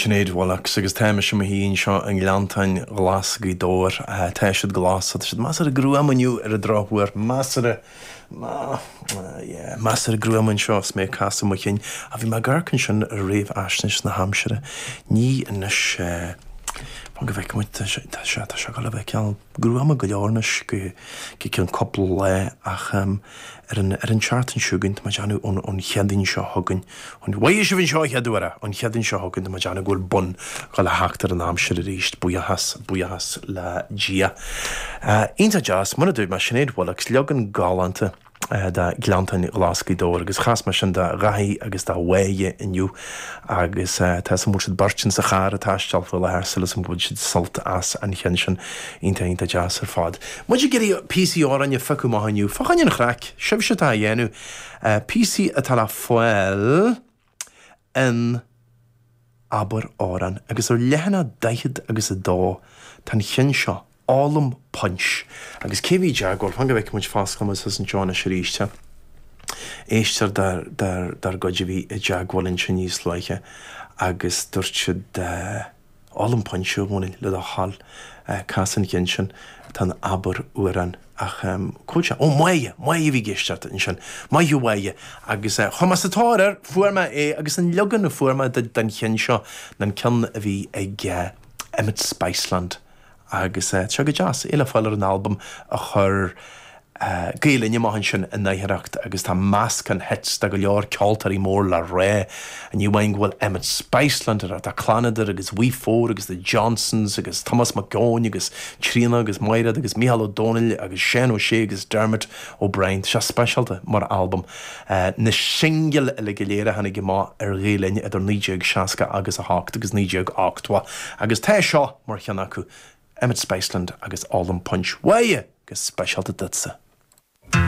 Sinéad Willox agus tá mise i mo shuí anseo i nGleanntáin Ghlas Ghaoth Dobhair. Tá siad glas, tá siad measartha gruama inniu ar an drochuair, measartha, yeah, measartha gruama anseo is mé ag casadh mo chinn. Ach bhí mé ag amharc ansin ar réamhaisnéis na haimsire. Ní anois, fan go bhfeicfidh muid, tá sé, tá sé, tá sé ag dul a bheith cineál gruama go leor anois go, go ceann cúpla lá ach ar an, ar an tseachtain seo chugainn, tá mé ag déanamh ón, ón Chéadaoin seo chugainn, ón, mhaith sibh anseo an chéad uair é, ón Chéadaoin seo chugainn, tá mé ag déanamh go bhfuil bun ag dul a theacht ar an aimsir arís, buíochas, buíochas le Dia. Iontach deas, mar a dúirt mé, Sinéad Willox, leagan galánta. de Ghleanntáin Ghlas Ghaoth Dobhair agus chas mé sin do Dhaithí agus do Mháire inniu agus tá 'fhios a'm go bhfuil siad beirt insa charr ag taisteal faoi láthair súil agam go bhfuil siad sult as an cheann sin. Iontach iontach deas ar fad. Muid ag iarraidh píosaí amhráin a phiocadh amach inniu. Fá choinne an chraic, sibhse atá á dhéanamh. Píosaí atá le fáil in Abair Amhrán agus ar leathanach 40 agus 2 tá an cheann seo, Ólaim Punch. Agus cé bhí i dteagmháil? Fan go bhfeicfidh muid fosclaíonn muid suas anseo anois arís. Éisteoir dár gcuid a bhí i dteagmháil ansin níos luaithe agus dúirt siad Ólaim Punch a Dhónaill, le do thoil, cas an cheann sin atá in Abair Amhrán. Ach cá bhfuil sé? Ó, Máire! Máire a bhí ag éisteacht ansin. Maith thú Mháire! Agus chuaigh mé sa tóir air, fuair mé é agus an leagan a fuair mé den cheann seo ná an ceann a bhí ag Emmet Spiceland. Agus tá sé go deas, é le fáil ar an albam a chuir Gael Linn amach ansin in oidhreacht agus tá meascán hits de go leor ceoltóirí mór le rá. Ní amháin go bhfuil Emmet Spiceland ar, tá Clannadar agus We Four agus The Johnsons agus Tomás Mac Eoin agus Tríona agus Maighread agus Mícheál Ó Domhnaill agus Seán Ó Sé agus Dermot O'Brien. Tá sé speisialta mar albam. Na singil uile go léir a tháinig amach ar Ghael Linn idir 1960 agus 8 agus 1980 agus tá seo mar cheann acu, Emmet Spiceland agus Ólaim Punch. Mháire! Go speisialta duitse.